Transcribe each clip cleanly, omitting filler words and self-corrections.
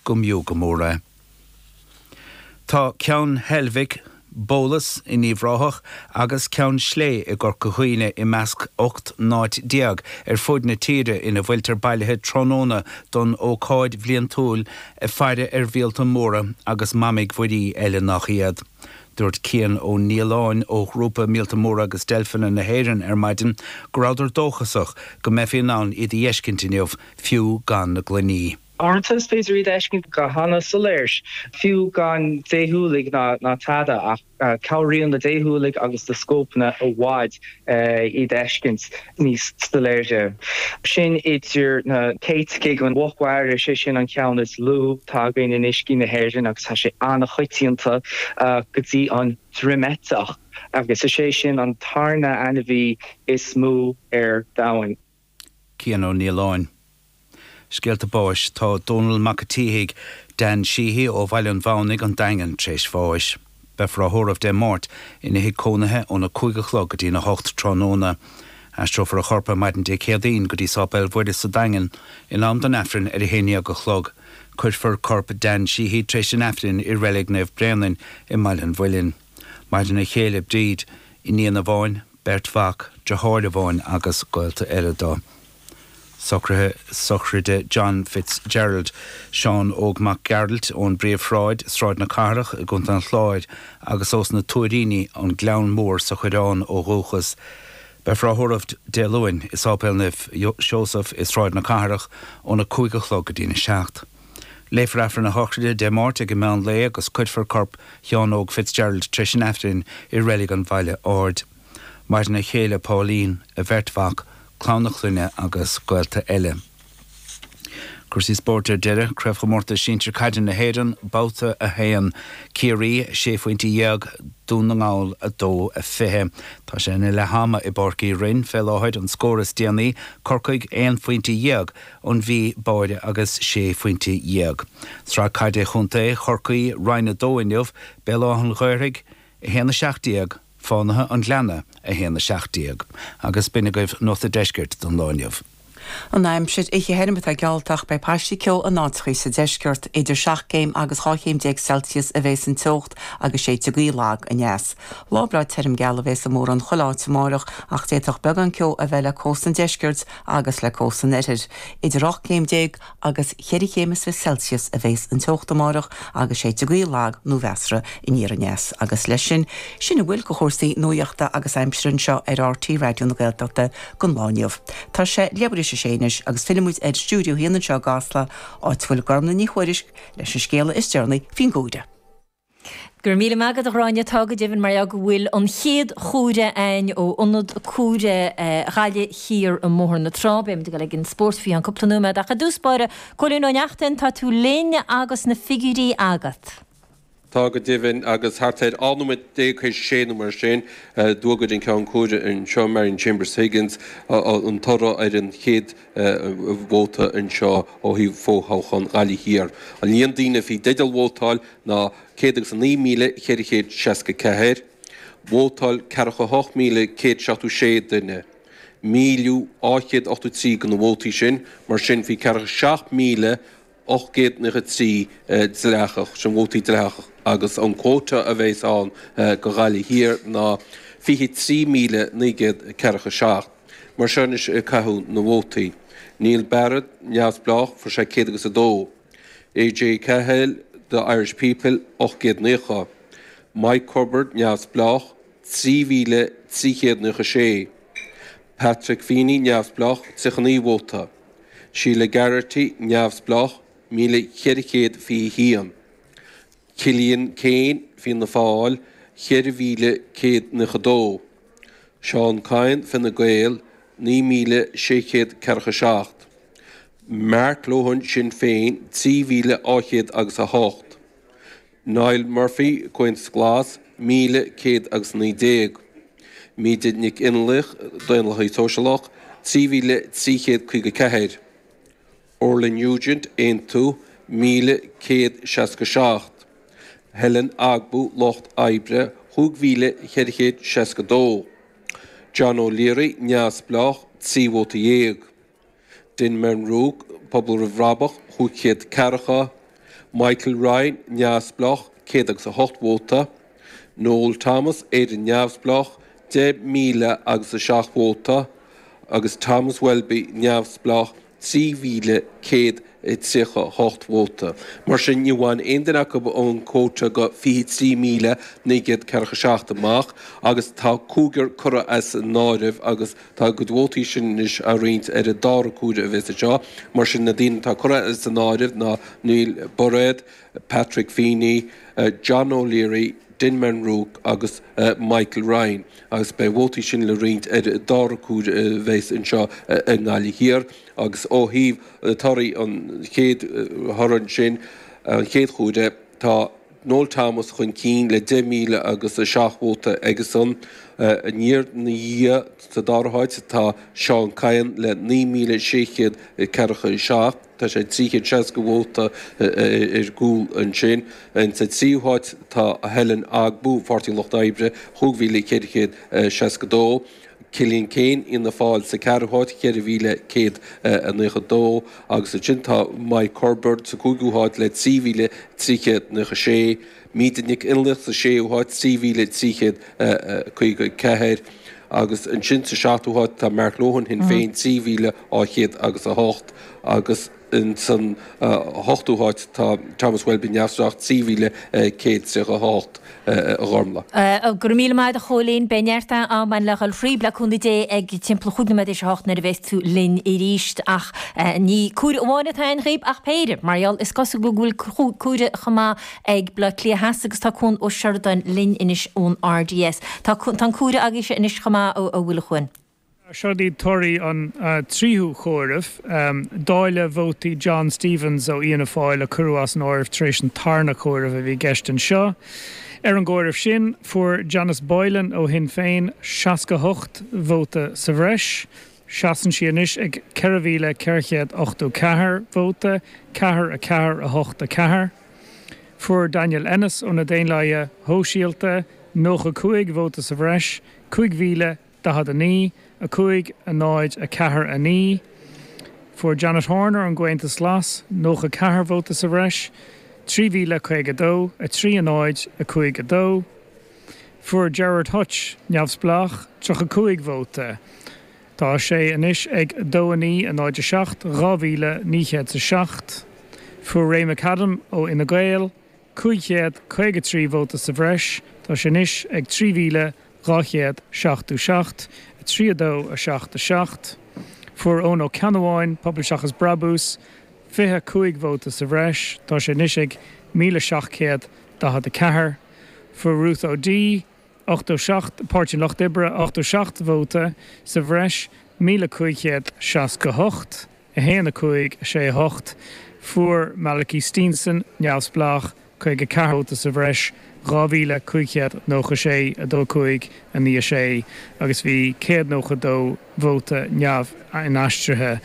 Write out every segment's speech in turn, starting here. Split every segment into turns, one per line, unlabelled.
go mb'fhiú go mór é. Tá Ceann Heilbhic, Bólas in Uíbh Ráthach agus Ceann Slé i gCorca Dhuibhne i measc 18 n-áit ar fuaid na tíre ina bhfuiltear bailithe tráthnóna don ócáid bhliantúil faire ar mhíolta móra agus mamaigh mhuirí eile nach iad. Dúirt Cian Ó Nialláin ó Ghrúpa Míolta Móra agus Deilfeanna na hÉireann ar maidin go rabhadar dóchasach go mbeifí in ann iad a fheiscint inniu, fiú gan na gloiní.
Uaireanta is féidir iad a fheiscint go hana-soiléir, fiú gan déshúiligh ná tada, ach cabhraíonn na déshúiligh agus na scópanna i bhfad iad a fheiscint níos soiléire. Sin idir na céiticigh, an mhuc mhara, sé sin an ceann is lú atá againn in uiscí na hÉireann agus tá sé an-choitianta, go dtí an droimeiteach, agus is é sin an tarna ainmhí is mó ar domhan.
Cian Ó Nialláin. Scéalta báis Tá Dónal Mac a tSíthigh, Dan Sheehy, ó Bhaile an Mhamhnaigh, An Daingean, tar éis bháis. Beifear á thórramh Dé Máirt ina thigh cónaithe óna 5 a chlog go dtína 8 tráthnóna. Aistreofar a chorp ar maidin Dé Céadaoin go dtí Sáipéal Mhuire sa Daingean in am don Aifreann ar a 11 a chlog. Cuirfear corp Dan Sheehy tar éis an Aifrinn i Reilig Naomh Bréanainn i mBaile an Mhuilinn. Maireann a chéile Bríd, iníon amháin, beirt mhac, deartháir amháin agus gaolta eile dó. Socruithe sochraide John Fitzgerald, Seán Óg Mac Gearailt ón bPríomhshráid, Sráid na Cathrach i gContae an Chláir agus ós na Tuairíní, An Gleann Mór sa Choireán ó dhúchas. Beifear á thórramh Dé Luain i Sáipéal Naomh Seosamh i Sráid na Cathrach óna 5 a chlog go dtína 7. Léifear Aifreann a shochraide Dé Máirt ag an meán lae agus cuirfear corp Sheáin Óg Fitzgerald tar éis an Aifrinn i Reilig an Bhaile Aird. Maireann a chéile Pauline, a bheirt mhac, clann a clainne agus gaolta eile. Cúrsaí spóirt ar deireadh, Craobhchomórtas Sinsir Caide na hÉireann, Babhta 1, Ciarraí, sé phointe dhéag, Dún na nGall, 2, 20. Tá sé ina leath ama i bPáirc Uí Rinn fé láthair, an scór is déanaí, Corcaigh, aon phointe dhéag, An Mhí, Báire agus sé phointe dhéag. Sraith Caide Chontae Chorcaí, Roinn 2 inniu, Béal Átha an Ghaorthaidh, 1, 17, Fánaithe an Ghleanna, 1, 17. Agus b'in agaibh Nuacht a' Deiscirt don lá inniu.
An aimsir, oíche thirim atá geallta ach beidh paistí ceo in áiteachaí sa deisceart. Idir 7 gcéim agus 12 chéim Celsius a bhéas an teocht agus séidfidh gaoth lag aneas. Lá breá tirim geal a bhéas i mórán chuile áit amárach ach d'fhéadfadh beagán ceo a bheith le cósta an deiscirt agus le cósta an oirthir. Idir 18 céim agus cheithre chéim is fiche Celsius a bhéas an teocht amárach agus séidfidh gaoth lag nó mheasartha aniar aneas. Agus leis sin, sin a bhfuil de chúrsaí nuachta agus aimsire anseo ar RTÉ Raidió na Gaeltachta don lá inniu. Tá sé leathuair tar éis a sé anois agus fillfidh muid ar Stiúideo a hAon anseo i gCasla, áit a bhfuil Gormlaith Ní Thuairisg leis an scéala is deireanaí faoin gcomhaireamh.
Go raibh míle maith agat a Ghráinne. Tá go deimhin mar gheall go bhfuil an chéad chomhaireamh a'ainn ó ionad comhairimh Ghaillimh Thiar i mBóthar na Trá. Beidh muid ag dul ag an spórt faoi cheann cúpla nóiméad ach i dtús báire, Cóilín Ó Neachtain, tá tú linn agus na figiúirí agat.
Tá go deimhin, agus thart ar 12 nóiméad théis a sé nó mar sin, d'fhógair an ceann comhairimh anseo, Marion Chambers Higgins, an toradh ar an chéad vóta anseo ó thaobh fothoghchán Ghaillimh Thiar. An líon daoine a bhí i dteideal vótáil ná 109,464. Vótáil 48,176 duine. 1,283 de na vótaí sin, mar sin bhí 47,893 dleathach, sin vótaí dleathach, agus an quota a bheas ann do Ghaillimh Thiar ná 23,947. Mar seo anois a caitheadh na vótaí. Neil Barrett, Neamhspleách, fuair sé 100 agus 2. AJ Cahill, The Irish People, 890. Mike Cubbard, Neamhspleách, 3,396. Patrick Feeney, Neamhspleách, 39 vóta. Sheila Geraghty, Neamhspleách, 1,421. Cillian Keane, Fianna Fáil, 4,192. Seán Kyne, Fine Gael, 9,647. Mark Lohan, Sinn Féin, 3,200 agus 8. Niall Murphy, Comhaontas Glas, 1,119. Míde Nic Fhionnlaoich, Daonlathaí Sóisialach, 3,354. Orla Nugent, Aontú, 1,167. Helen Ogbu, Lucht Oibre, 5,462. John O'Leary, Neamhspleách, 13 vóta. Dinmar Rook, Pobal Roimh Bhrabach, 540. Michael Ryan, Neamhspleách, 108 vóta. Noel Thomas, Éire Neamhspleách, 10,000 agus 7 vóta agus Thomas Welby, Neamhspleách, 3,138 vóta. Mar sin, ní bhain aon duine acu an quota de 23,947 amach agus tá cúigear curtha as an áireamh agus tá a gcuid vótaí sin anois á roinnt ar an dara comhaireamh a bheas anseo. Mar sin, na daoine atá curtha as an áireamh ná Neil Bairéad, Patrick Feeney, John O'Leary, Denman Rourke agus Michael Ryan agus beidh a vótaí sin le roinnt ar an dara comhaireamh a bheas anseo i nGaillimh Thiar agus ó thaobh torthaí an chéad thoradh ansin, an chéad chomhaireamh, tá Noel Thomas chun cinn le 10,000 agus 7 vóta aigesan. Aniar ina dhiaidh sa dara háit tá Seán Kyne le 9,647. Tá sé 360 vóta ar gcúl ansin. Sa tríú háit tá Helen Ogbu, Pháirtí an Lucht Oibre, 5,462. Cillian Keane, Fhianna Fáil, sa ceathrú háit, 4,192. Agus ansin tá Mike Herbert sa cúigiú háit le 3,396. Míde Nic Fhionnlaoich sa séú háit, 3,354. Agus ansin sa seachtú háit tá Mark Lohan, Shinn Féin, 3,200 agus 8. Agus insan ochtú háit tá Thomas Welby, Neamhspleách, 3,138, a Ghormlaith.
Go raibh míle maith agat a Chóilín. Beidh neart am againn le dhul thríb le cúnamh Dé ag timpeall chúig nóiméad théis a hocht nuair a bheas tú linn arís. Ach ní comhaireamh amháin atá againn dhaoib ach péire. Mar gheall is cosúil go bhfuil comhaireamh chomh maith ag Bleá Cliath Theas agus tá Cuan Ó Seireadáin linn anois ón RDS. Tá an comhaireamh agaibhse anois chomh maith, a bhfuil a Chuain?
Seo iad torthaí an tríú chomhaireamh. Dáileadh vótaí John Stephens ó Fhianna Fáil a cuireadh as an áireamh tar éis an tarna comhaireamh a bhí i gceist anseo. Ar an gcomhaireamh sin, fuair Janice Boylan ó Shinn Féin 68 vóta sa bhreis. Seasann sí anois ag 4,484 vóta, 4, 4, 8, 4. Fuair Daniel Ennis ó na Daonlathaithe Shóisialta 95 vóta sa bhreis, 5,049, 5, 0, 4, 9. Fuair Janet Horner ón gComhaontas Glas 94 vóta sa bhreis, 3,052, 3, 0, 5, 2. Fuair Gerard Hutch, Neamhspleách, 35 vóta. Tá sé anois ag 2 9 0 7, 2,907. Fuair Ray McAdam ó Fhine Gael 553 vóta sa bhreis. Tá sé anois ag 3,277, 3 2 7 7. Fuair Eoin Ó Ceannabháin, Pobal Seachas Brabús, 25 vóta sa bhreis. Tá sé anois ag 1,744. Fuair Ruth O'Dea, 87, Páirtí an Lucht Oibre, 87 vóta sa bhreis, 1,568, 1, 5, 6, 8. Fuair Malachy Steenson, Neamhspleách, 54 vóta sa bhreis, 2,596, 2, 5, 9, 6, agus bhí 192 vóta neamh-inaistrithe.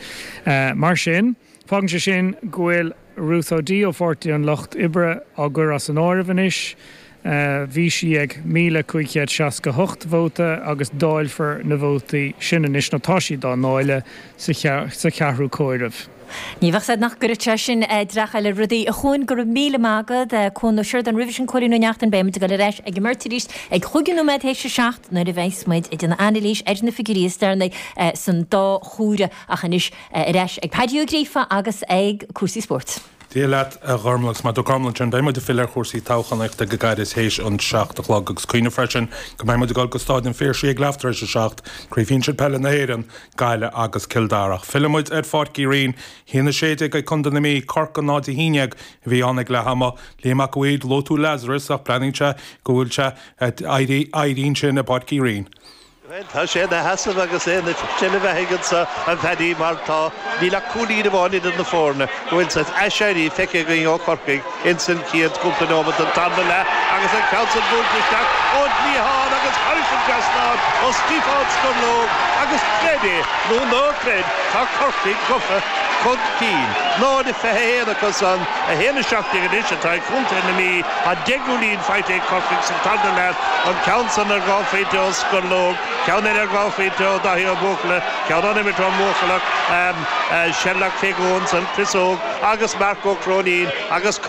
Mar sin. Fágann sé sin go bhfuil Ruth O'Dea ó Pháirtí an Lucht Oibre á gcur as an áireamh anois. Bhí sí ag 1,568 vóta agus dáilfear na vótaí sin anois, nó tá siad á ndáileadh, sa cheathrú comhaireamh.
Ní bheadh a fhios agat nach gcuirfeadh sé sin dreach eile ar rudaí. A Chuain, go raibh míle maith agat. Cuan Ó Seireadáin roimhe sin, Cóilín Ó Neachtain, beidh muid ag dul ar ais ag an mbeirt arís ag chúig nóiméad théis a seacht nuair a bheas muid ag déanamh anailís ar na figiúirí is deireanaí san dá chomhaireamh ach anois Ar ais ag Paddy Ó Gríofa agus ag cúrsaí spóirt.
Dia leat, a Ghormlaith, agus mar a dúirt Gormlaith ansin, beidh muid ag filleadh ar chúrsaí toghchánaíochta go gairid théis an 7 a chlog agus cuimhnigh freisin go mbeidh muid ag dul go Stáid an Phiarsaigh ag leath tar éis a 7, Craobh Shinsir Peile na hÉireann, Gaillimh agus Cill Dara. Ach filleann muid ar Pháirc Uí Rinn, 1-16 ag Contae na Mí, Corcaigh 0-11 a bhí ann ag leath ama. Liam Mac a' Mhaoir, luaigh tú Lazarus ach breathnaíonn sé go bhfuil sé ag éirí ansin i bPáirc Uí Rinn.
Bhuel, tá sé ina sheasamh agus é ina sheilbh aige anso, a Phaddy, mar tá, níl ach cúilín amháin idir na foirne, go bhfuil saghas aiséirí feicthe againn ó Chorcaigh ins an chéad chúpla nóiméad den tarna leath agus an ceann san buailte isteach ón gcliathán agus thairis an dtrasnán ó Stiofán Scorlóg agus creid é nó ná creid, tá Corcaigh gafa chun cinn. 0-21 acu san, 1-17 anois atá ag contae na Mí. Tá 10 gcúilín faighte ag Corcaigh sa tarna leath, an ceann san ar dhá phointe ó Scorlóg, ceann eile ar dhá phointe ó Daithí Ó Buachalla, ceann ón imirt ón mBuachallach, Sherlock Keogh ansan, Chris Óg agus Marc Ó Cróinín agus.